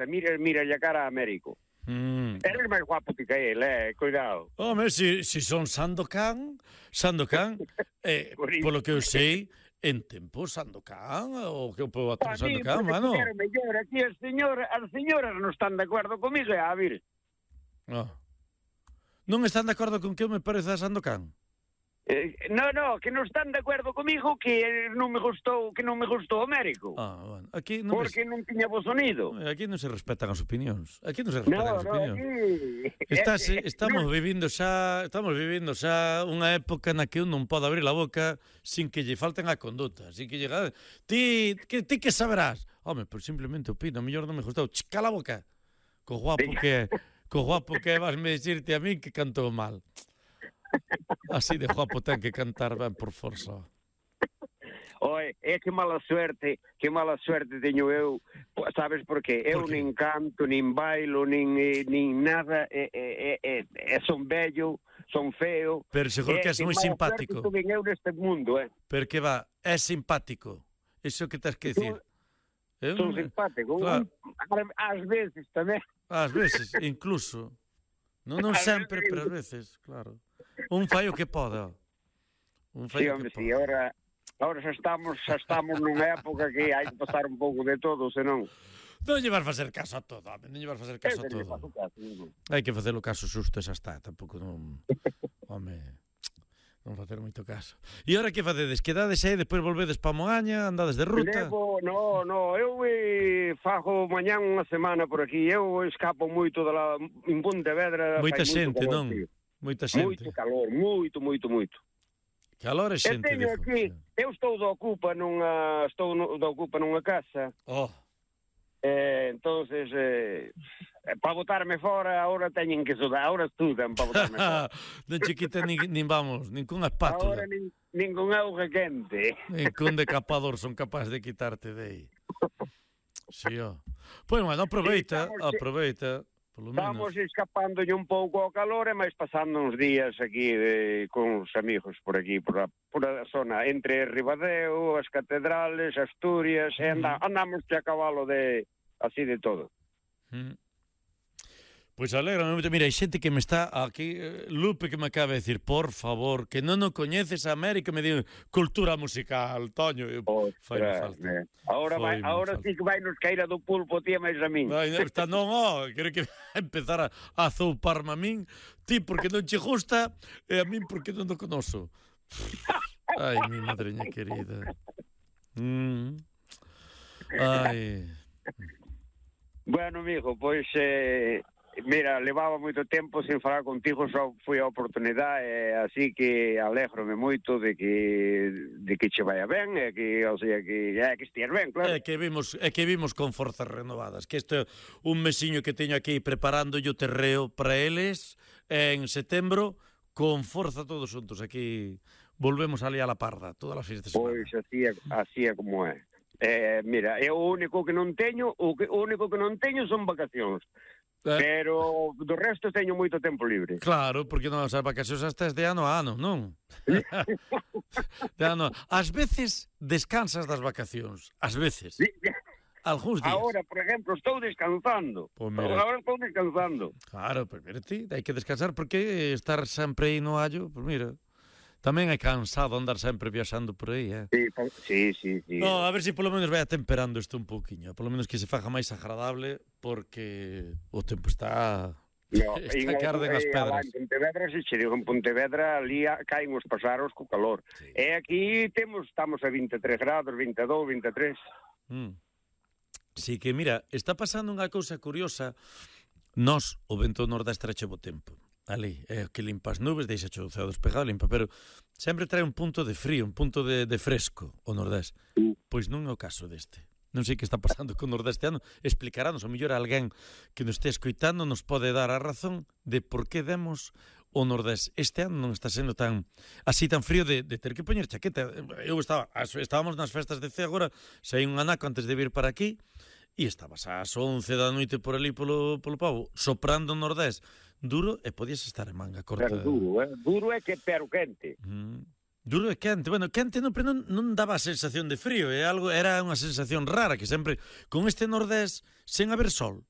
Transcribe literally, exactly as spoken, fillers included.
mira, mira a cara a Américo. Mm. Eres máis guapo que él, eh, cuidado. Home, si, si son Sandokan, Sandokan, eh, polo que eu sei, en tempo Sandokan, o que eu podo atar Sandokan, mano. Quero mellor, aquí as señoras, as señoras non están de acordo comigo, e a vir. No. Non están de acordo con que eu me parece a Sandokan? Eh, no, no, que non están de acordo comigo que non me gustou, que non me gustou o Américo. Ah, bueno, aquí non porque me... non tiña bo sonido. Aquí non se respetan as opinións. Aquí non se respetan no, as no, opinións. Aquí... Estás, estamos vivindo xa, estamos vivindo xa unha época na que un non pode abrir a boca sin que lle falten a conduta, sin que lle ti que ti que saberás. Home, pois simplemente opino, a mellor non me gustou. Ch, cala a boca. Co guapo que co guapo que vas me dicirte a mí que cantou mal. Así de guapo ten que cantar ben por forza. Oe, é que mala suerte, que mala suerte teño eu, sabes por qué? Eu por nin canto, nin bailo, nin, nin nada, e, e, e, e son bello, son feo. Pero seguro que és moi simpático. Que eu neste mundo, eh. Pero que va, é simpático. Iso que tens que dicir. Son simpático. Claro. Ás veces tamén. Ás veces, incluso. Non, non sempre, pero ás veces, claro. Un fai o que poda. Un fai sí, o hombre, que sí, poda. ahora, ahora xa estamos, xa estamos nunha época que hai que pasar un pouco de todo, senón... Non lle vas facer caso a todo, home, non lle vas facer caso a todo. Hai que facer o caso xusto e xa está, tampouco non... Home, non facer moito caso. E ahora que facedes? Quedades aí, depois volvedes pa Moaña, andades de ruta? Levo, no, no, eu eh, fago mañán unha semana por aquí, eu escapo moito da la, en Pontevedra. Moita xente, non? Moita xente. Moito calor, moito, moito, moito. Calor e xente. Eu teño aquí, eu estou do Ocupa nunha, estou no, do Ocupa nunha casa. Oh. Eh, entonces, eh, para botarme fora, ahora teñen que sudar, ahora estudan para botarme fora. Non che quiten nin, nin vamos, ninguna espátula. Ahora nin, ningún auga quente. Ningún decapador son capaz de quitarte de aí. Sí, ó. Pois, bueno, aproveita, sí, aproveita. Estamos escapándolle un pouco ao calor e máis pasando uns días aquí de, con os amigos por aquí, por a, por a zona entre Ribadeo, as catedrales, Asturias, e anda, andamos que a cabalo de así de todo. Mm. Pois alegra, mira, hai xente que me está aquí, Lupe que me acaba de decir, por favor, que non o coñeces a América, me di cultura musical, Toño, fai falta. Ahora, vai, ahora sí que vai nos caíra do pulpo, tía, máis a min. Vai, está, non, ó, quero que empezar a, a zouparme a min, ti porque non che gusta, e a min porque non o conoso. Ai, mi madreña querida. Mm. Ai. Bueno, amigo, pois... Eh... Mira, levaba moito tempo sen falar contigo, só foi a oportunidade, eh, así que alégrome moito de que de que che vaya ben, e que, o sea, que é que estias ben, claro. É que vimos, é que vimos con forzas renovadas, que este é un mesiño que teño aquí preparando o terreo para eles en setembro, con forza todos xuntos, aquí volvemos ali a la parda, todas as fines de semana. Pois así é, así é como é. Eh, mira, é o único que non teño, o, que, o único que non teño son vacacións. Eh. Pero do resto teño moito tempo libre. Claro, porque non as vacacións hasta de ano a ano, non? De ano. Ás veces descansas das vacacións, ás veces. Sí. Algúns días. Agora, por exemplo, estou descansando. Pues mira. Agora estou descansando. Claro, pues mira ti, hai que descansar porque estar sempre aí no hallo, pues mira. Tamén é cansado andar sempre viaxando por aí, eh? Sí, sí, sí, sí. No, a ver se si polo menos vai atemperando isto un pouquiño, polo menos que se faja máis agradable, porque o tempo está... No, está que arden as pedras. En Pontevedra, se che digo, en Pontevedra ali caen os pasaros co calor. Sí. E aquí temos, estamos a vinte e tres grados, vinte e dous, vinte e tres. Mm. Sí, que mira, está pasando unha cousa curiosa. Nos, o vento nordeste trache bo tempo. Ali, é que limpa as nubes, deixa o ceo despejado, limpa, pero sempre trae un punto de frío, un punto de, de fresco o nordés. Pois non é o caso deste. Non sei que está pasando con o nordeste ano. Explicarános, o mellor alguén que nos este escoitando nos pode dar a razón de por que demos o nordés. Este ano non está sendo tan así tan frío de, de ter que poñer chaqueta. Eu estaba, estábamos nas festas de Cee agora, saí un anaco antes de vir para aquí, e estabas ás once da noite por ali polo, polo Pobo, soprando o nordés duro e podías estar en manga corta. Pero duro, eh? Duro é que pero quente. Mm. Duro e quente. Bueno, quente non, pero non, non daba a sensación de frío, é algo, era unha sensación rara que sempre, con este nordés, sen haber sol,